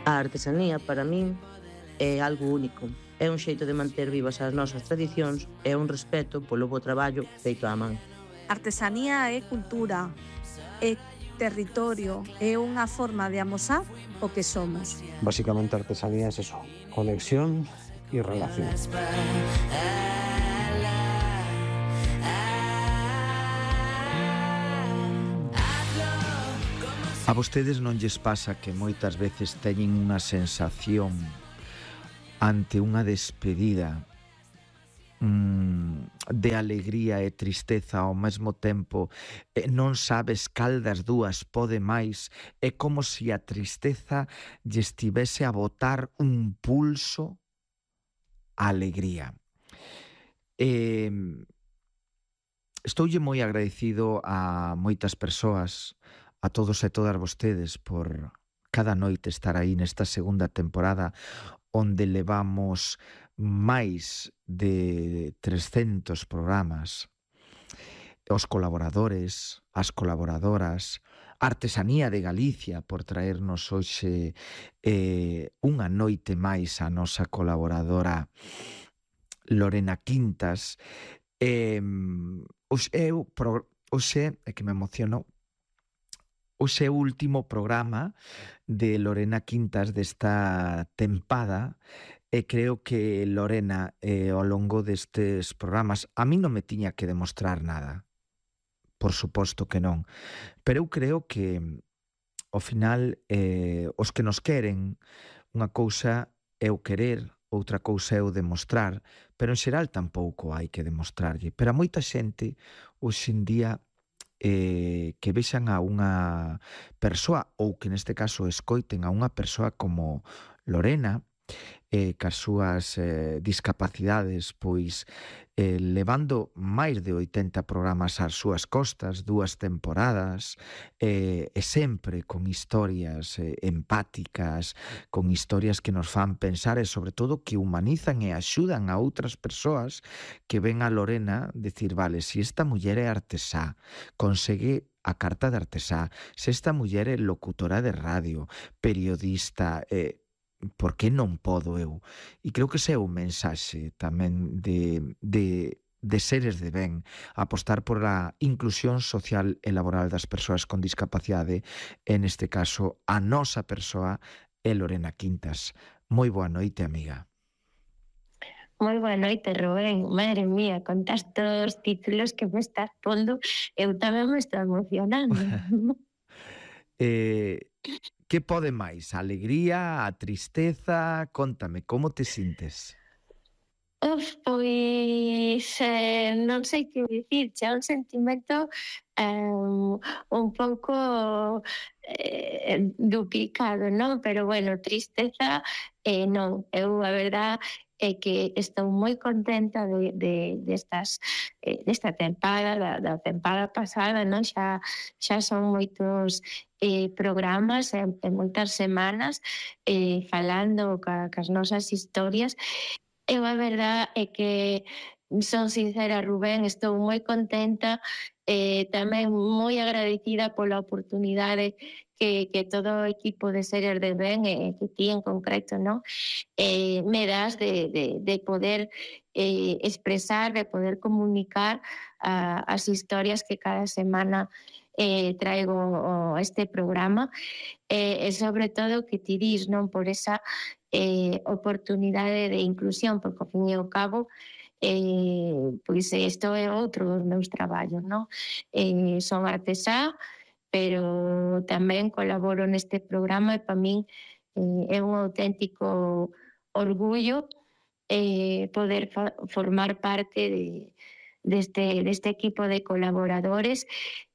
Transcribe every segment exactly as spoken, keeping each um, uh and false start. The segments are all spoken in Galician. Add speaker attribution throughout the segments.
Speaker 1: A artesanía, para min, é algo único. É un xeito de manter vivas as nosas tradicións e un respeto polo bo traballo feito á man.
Speaker 2: Artesanía é cultura, é territorio, é unha forma de amosar o que somos.
Speaker 3: Básicamente, artesanía es eso, conexión y relación.
Speaker 4: A vostedes non lles pasa que moitas veces teñen unha sensación ante unha despedida mmm, de alegría e tristeza ao mesmo tempo, e non sabes cal das dúas pode máis? É como se a tristeza lle estivese a botar un pulso á alegría. E estoulle moi agradecido a moitas persoas, a todos e todas vostedes, por cada noite estar aí nesta segunda temporada onde levamos máis de trescentos programas. Os colaboradores, as colaboradoras, a Artesanía de Galicia por traernos hoxe eh, unha noite máis a nosa colaboradora Lorena Quintas. Eh, hoxe, eu, pro, hoxe, é que me emociono, hoxe é o último programa de Lorena Quintas desta tempada e creo que Lorena eh, ao longo destes programas a mí non me tiña que demostrar nada, por suposto que non, pero eu creo que ao final eh, os que nos queren, unha cousa é o querer, outra cousa é o demostrar, pero en xeral tampouco hai que demostrarlle, pero a moita xente hoxe en día Eh, que vexan a unha persoa, ou que neste caso escoiten a unha persoa como Lorena, eh, cas súas eh, discapacidades, pois eh, levando máis de oitenta programas ás súas costas, dúas temporadas, eh, e sempre con historias eh, empáticas, con historias que nos fan pensar e sobre todo que humanizan e axudan a outras persoas que ven a Lorena decir, vale, se esta muller é artesá, consegue a carta de artesá, se esta muller é locutora de radio, periodista, eh, por que non podo eu? E creo que ese é o mensaxe tamén de, de, de seres de ben, apostar por a inclusión social e laboral das persoas con discapacidade, e neste caso a nosa persoa é Lorena Quintas. Moi boa noite, amiga.
Speaker 5: Moi boa noite, Rubén. Madre mía, contas todos os títulos que me estás pondo, eu tamén me estou emocionando.
Speaker 4: eh... Que pode máis? A alegría, a tristeza? Contame, como te sintes?
Speaker 5: Uf, pois eh, non sei que dicir, xa un sentimento eh, un pouco eh, duplicado, non? Pero bueno, tristeza eh, non. Eu a verdad é que estou moi contenta de, de, destas, eh, desta tempada, da, da tempada pasada, non? Xa, xa son moitos eh, programas e, e moitas semanas eh, falando ca, cas nosas historias. Eu a verdad é que son sincera, Rubén, estou moi contenta e eh, tamén moi agradecida pola oportunidade que, que todo o equipo de Seres de Ben e eh, que ti en concreto, non? Eh, me das de, de, de poder eh, expresar, de poder comunicar uh, as historias que cada semana eh, traigo o, este programa eh, e sobre todo que ti dis, non, por esa eh, oportunidade de inclusión, porque ao fin e ao cabo eh, pois isto é outro dos meus traballos, non? Eh, son artesá, pero tamén colaboro neste programa e para min eh, é un auténtico orgullo eh, poder fa- formar parte de deste, deste equipo de colaboradores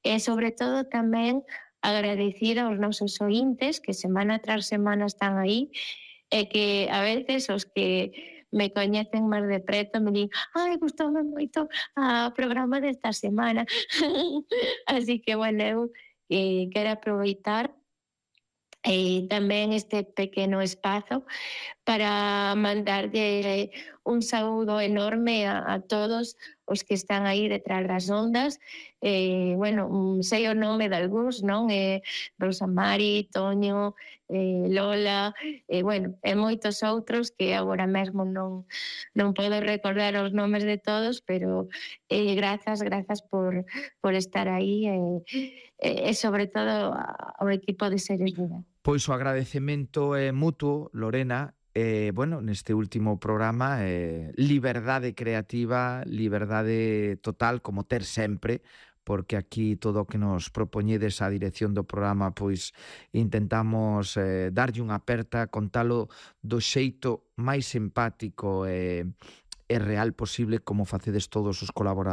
Speaker 5: e sobre todo tamén agradecer aos nosos ointes que semana tras semana están aí e que a veces os que me coñecen máis de preto me din, ai, gustoume moito o programa desta semana. Así que, bueno, eu eh, quero aproveitar e tamén este pequeno espazo para mandarlle un saúdo enorme a, a todos os que están aí detrás das ondas. Eh, bueno, sei o nome de algúns, non? Eh, Rosa Mari, Toño, eh, Lola, e, bueno, e moitos outros que agora mesmo non, non podo recordar os nomes de todos, pero eh, grazas, grazas por, por estar aí e, e, e sobre todo ao equipo de Seres Vida.
Speaker 4: Pois o agradecemento é mutuo, Lorena. Eh, bueno, neste último programa, eh, liberdade creativa, liberdade total, como ter sempre, porque aquí todo o que nos propoñedes a dirección do programa, pois intentamos eh, darlle unha aperta, contalo do xeito máis simpático e, e real posible, como facedes todos os colaboradores